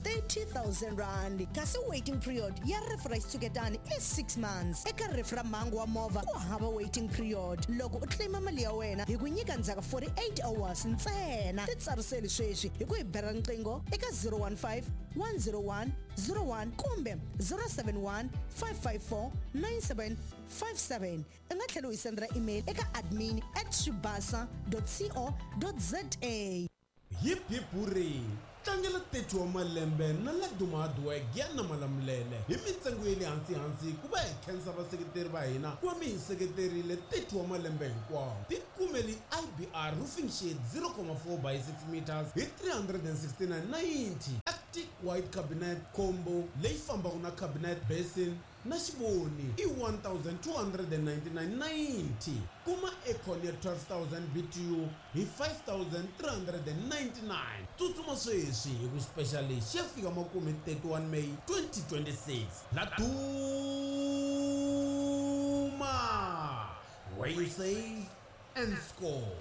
R30 000, kasi waiting period ya rifu ra xitshuketani i 6 months. Eka rifu ra mhangu wa movha ku hava waiting period. Loko u claima mali ya wena hi ku nyika ndzhaku 48 hours ntsena. Titsariseli sweswi hi ku hi bela riqingho eka 015 101 01 kumbe 071 554 9757. U nga tlhela u hi sendela email eka admin at swibasa co za. Hip hip hurray! Tlangela 30 wa malembe na Laduma Hardware Giyani Malamulele hi mintsengo ya le hansi hansi ku va hi khensa vaseketeri va hina ku va mi hi seketerile 30 wa malembe hinkwawo. Tikumeli IBR Roofing Sheet 0,4 by 6 meters hi 369.90, Arctic White Cabinet Combo leyi fambaka na cabinet basin na xivoni i 1299.90. Kuma aircon ya 12000 BTU hi 5399. Tsutsuma sweswi hi ku special lexi xi ya fika makumu hi 31 May 2026. Laduma! Where you save and score.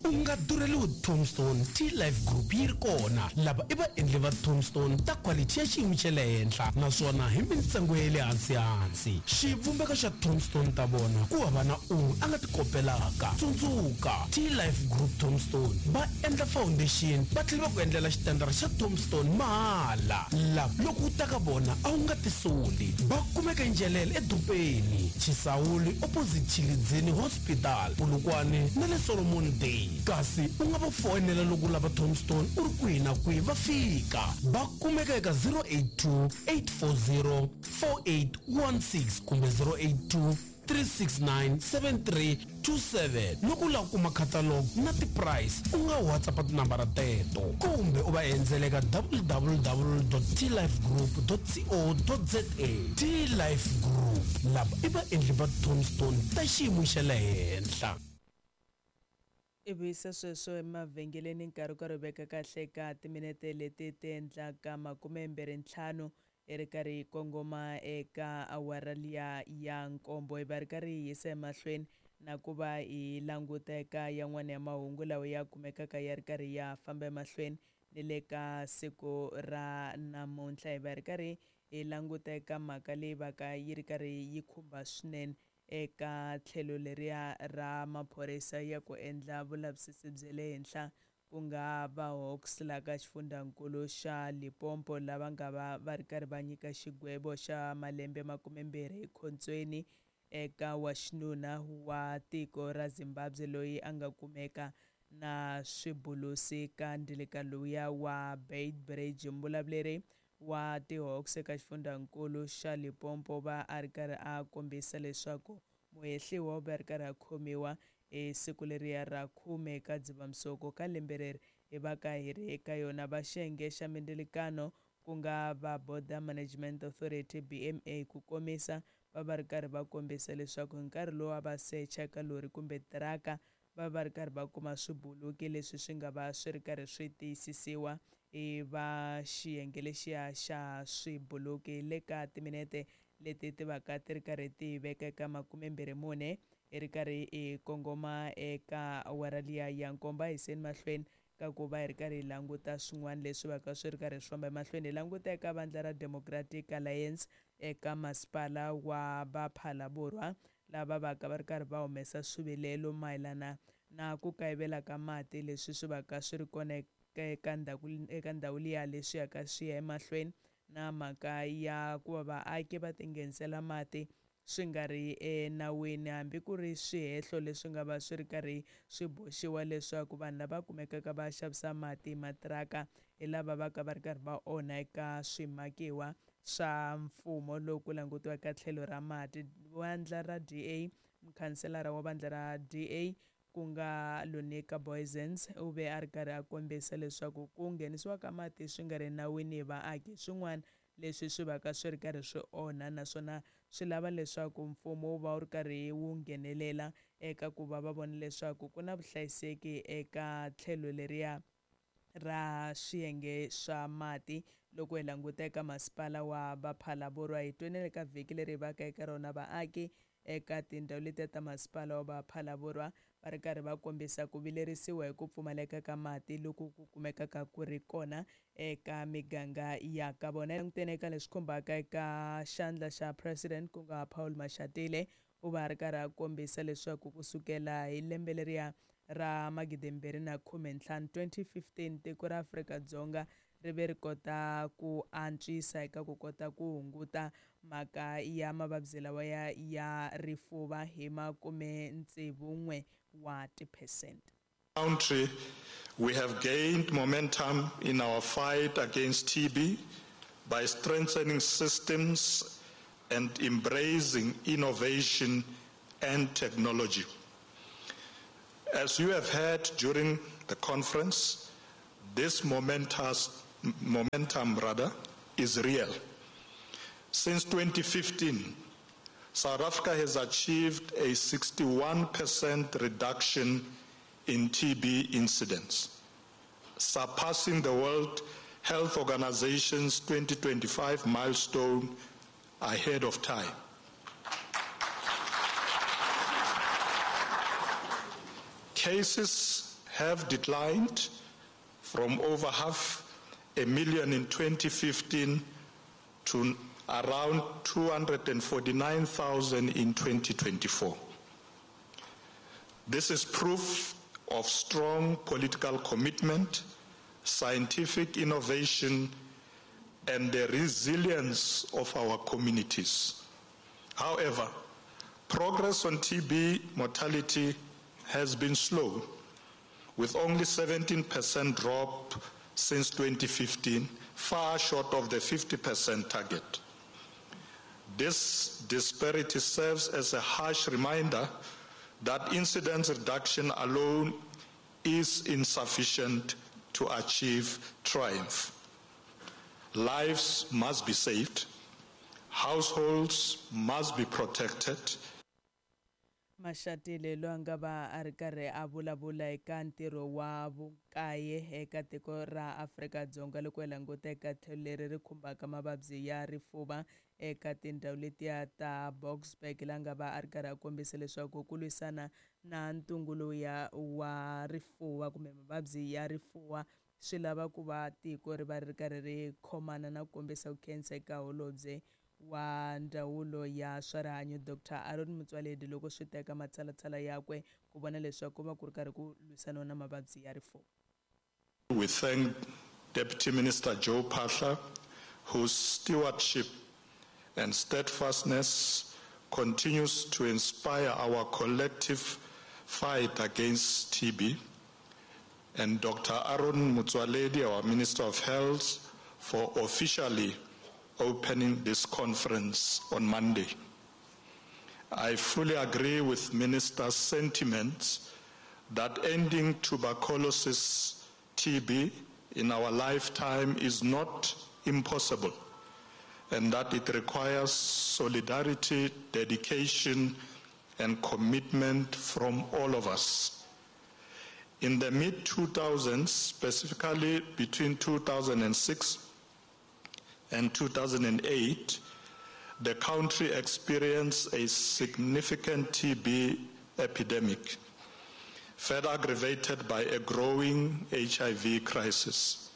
U nga durheliwi Tombstone T-Life Group yi ri kona. Lava i vaendli va Tombstone ta quality ya xiyimo xa le henhla naswona hi mintsengo ya le hansi-hansi. Xivumbeko xa Tombstone ta vona ku hava na un'we a nga ti kopelaka. Tsundzuka, T-Life Group Tombstone va endla foundation va tlhela va ku endlela xitandara xa Tombstone mahala. Lava loko u ta ka vona a wu nga tisoli. Va kumeka eNjelele edorobeni, Chisawuli opposite Tshilidzini Hospital, Polokwane na le Solomon Day. Kasi u nga va foyinela loko u lava Tombstone u ri kwihi na kwihi va fika. Va kumeka eka 082 840 4816 kumbe 082 369 7327. Loko u lava ku kuma catalog na ti-price u nga WhatsApp tinambara teto kumbe u va endzela eka www.tlifegroup.co.za. T-Life Group, lava i vaendli va Tombstone ta xiyimo xa le henhla. I vuyisa sweswo emavhengeleni nkarhi wu karhi wu veka kahle eka timinete leti ti endlaka 25 hi ri karhi hi kongoma eka awara liya ya nkombo. Hi va ri karhi hi yisa emahlweni na ku va hi languta eka yan'wana ya mahungu lawa ya kumekaka ya ri karhi ya famba emahlweni ni le ka siku ra namuntlha. Hi va ri karhi hi languta eka mhaka leyi va ka yi ri karhi yi khumba swinene eka tlhelo leriya ra maphorisa ya ku endla vulavisisi bya le henhla ku nga va Hawks la ka xifundzankulu xa Limpopo lava nga va va ri karhi va nyika xigwevo xa malembe 20 ekhontsweni eka wa xinuna wa tiko ra Zimbabwe loyi a nga kumeka na swibulusi ka ndilika lowuya wa Beitbridge. Mbulavuleri wa ti-Hawks eka xifundzankulu xa Limpopo va a ri karhi a kombisa leswaku muhehliwa u va ri karhi a khomiwa hi siku leriya ra 10 ka Dzivamisoko ka lembe leri hi va ka hi ri eka yona. Va xiyenge xa mindzilikano ku nga va Border Management Authority BMA ku komisa va va ri karhi va kombisa leswaku hi nkarhi lowu a va secha ka lori kumbe tiraka va va ri karhi va kuma swibuluki leswi swi nga va swi ri karhi swi tiyisisiwa hi va xiyenge lexiya xa swibuluki. Le ka timinete leti ti vaka ti ri karhi ti veka eka 24 hi ri karhi hi kongoma eka awara liya ya nkombo. A hi yiseni mahlweni ka ku va hi ri karhi hi languta swin'wana leswi vaka swi ri karhi swi famba emahlweni. Hi languta eka vandla ra Democratic Alliance eka masipala wa Vaphalaborwa lava vaka va ri karhi va humesa swivilelo mayelana na ku kayivela ka mati leswi swi vaka swi ri kona eka ndhawu liya leswi yaka swi ya emahlweni na mhaka ya ku va vaaki va tinghenisela mati swi nga ri enawini, hambi ku ri swihehlo leswi nga va swi ri karhi swi boxiwa leswaku vanhu lava kumekaka va xavisa mati hi matiraka hi lava va ka va ri karhi va onha eka swimakiwa swa mfumo loku ku langutiwa ka tlhelo ra mati. Vandla ra DA, mukhanselara wa vandla ra DA ku nga Lunika Boysens u ve a ri karhi a kombisa leswaku ku nghenisiwa ka mati swi nga ri nawini hi vaaki swin'wana leswi swi vaka swi ri karhi swi onha naswona swi lava leswaku mfumo wu va wu ri karhi wu nghenelela eka ku va va vona leswaku ku na vuhlayiseki eka tlhelo leriya ra swiyenge swa mati. Loko hi languta eka masipala wa Vaphalaborwa hi twenele ka vhiki leri hi vaka eka rona vaaki eka tindhawu letiya ta masipala wa Vaphalaborwa Va ri karhi va kombisa ku vilerisiwa hi ku pfumaleka ka mati loku ku kumekaka ku ri kona eka miganga ya ka vona. Langutene eka leswi khumbaka eka xandla xa president ku nga Paul Mashatile, u va a ri karhi a kombisa leswaku kusukela hi lembe leriya ra 2015, 2015, tiko ra Afrika-Dzonga ri ve ri kota ku antswisa eka ku kota ku hunguta mhaka ya mavabyi lawa ya ya rifuva hi 61 wa tiphesente. Country, we have gained momentum in our fight against TB by strengthening systems and embracing innovation and technology. As you have heard during the conference, this momentum rather, is real. Since 2015, South Africa has achieved a 61% reduction in TB incidence, surpassing the World Health Organization's 2025 milestone ahead of time. Cases have declined from over 500,000 in 2015 to around 249,000 in 2024. This is proof of strong political commitment, scientific innovation, and the resilience of our communities. However, progress on TB mortality has been slow, with only 17% drop since 2015, far short of the 50% target. This disparity serves as a harsh reminder that incidence reduction alone is insufficient to achieve triumph. Lives must be saved, households must be protected. Mashatile loyi a nga va a ri karhi a vulavula eka ntirho wa vukaye eka tiko ra Afrika-Dzonga loko hi languta eka tlhelo leri ri khumbaka mavabyi ya rifuva eka tindhawu letiya ta Boksburg, la nga va a ri karhi a kombisa leswaku ku lwisana na ntungu lowuya wa rifuva kumbe mavabyi ya rifuva swi lava ku va tiko ri va ri karhi ri khomana na ku kombisa ku khensa eka holobye wa ndzawulo ya swa rihanyo Dr Aaron Motsoaledi loko swi teka matshalatshala yakwe ku vona leswaku ku va ku ri karhi ku lwisaniwa na mavabyi ya rifuva. We thank Deputy Minister Joe Phaahla, whose stewardship and steadfastness continues to inspire our collective fight against TB, and Dr. Aaron Motsoaledi, our Minister of Health, for officially opening this conference on Monday. I fully agree with Minister's sentiments that ending tuberculosis TB in our lifetime is not impossible, and that it requires solidarity, dedication, and commitment from all of us. In the mid-2000s, specifically between 2006 and 2008, the country experienced a significant TB epidemic, further aggravated by a growing HIV crisis.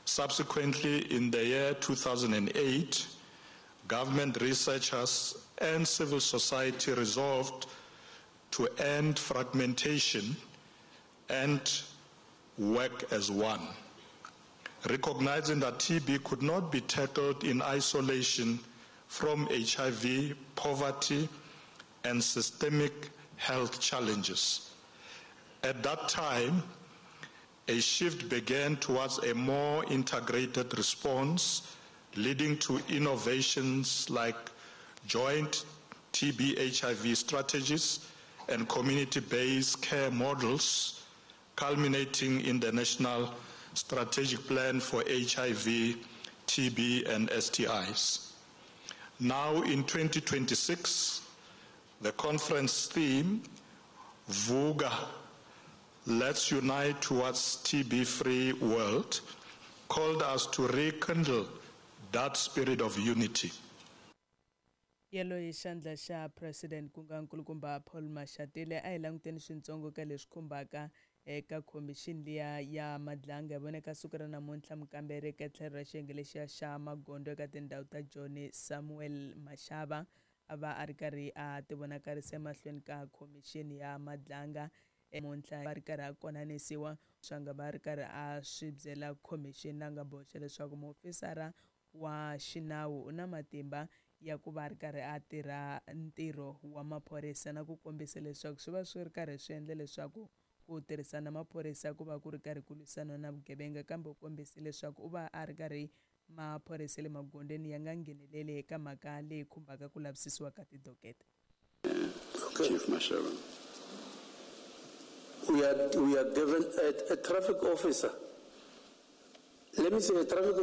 Subsequently, in the year 2008, government researchers and civil society resolved to end fragmentation and work as one, recognizing that TB could not be tackled in isolation from HIV, poverty, and systemic health challenges. At that time, a shift began towards a more integrated response, leading to innovations like joint TB-HIV strategies and community-based care models, culminating in the National Strategic Plan for HIV, TB, and STIs. Now in 2026, the conference theme, Vuka, Let's Unite Towards TB-Free World, called us to rekindle that spirit of unity. Yaloye xandla xa president ku nga nkulukumba Paul Mashatile a hi languteni swintsongo ka leswi khumbaka eka khomixini liya ya Madlanga. Hi vone ka siku ra namuntlha mukamberi eka tlhelo ra xiyenge lexiya xa magondzo eka tindhawu ta Joni Samuel Mashava a va a ri karhi a tivonakarisa emahlweni ka khomixini ya Madlanga. Namuntlha va ri karhi a konanisiwa swa nga va ri karhi a swi byela khomixini la nga boxa leswaku muofisara wa xinawu u na matimba ya ku va a ri karhi a tirha ntirho wa maphorisa na ku kombisa leswaku swi va swi ri karhi swi endla leswaku ku tirhisana maphorisa ku va ku ri karhi ku lwisana na vugevenga, kambe u kombise leswaku u va a ri karhi maphorisa le magondzweni ya nga ngheneleli eka mhaka leyi khumbaka ku lavisisiwa ka tidokete. Chief Mashaba. We are given a traffic officer. Let me say a traffic officer.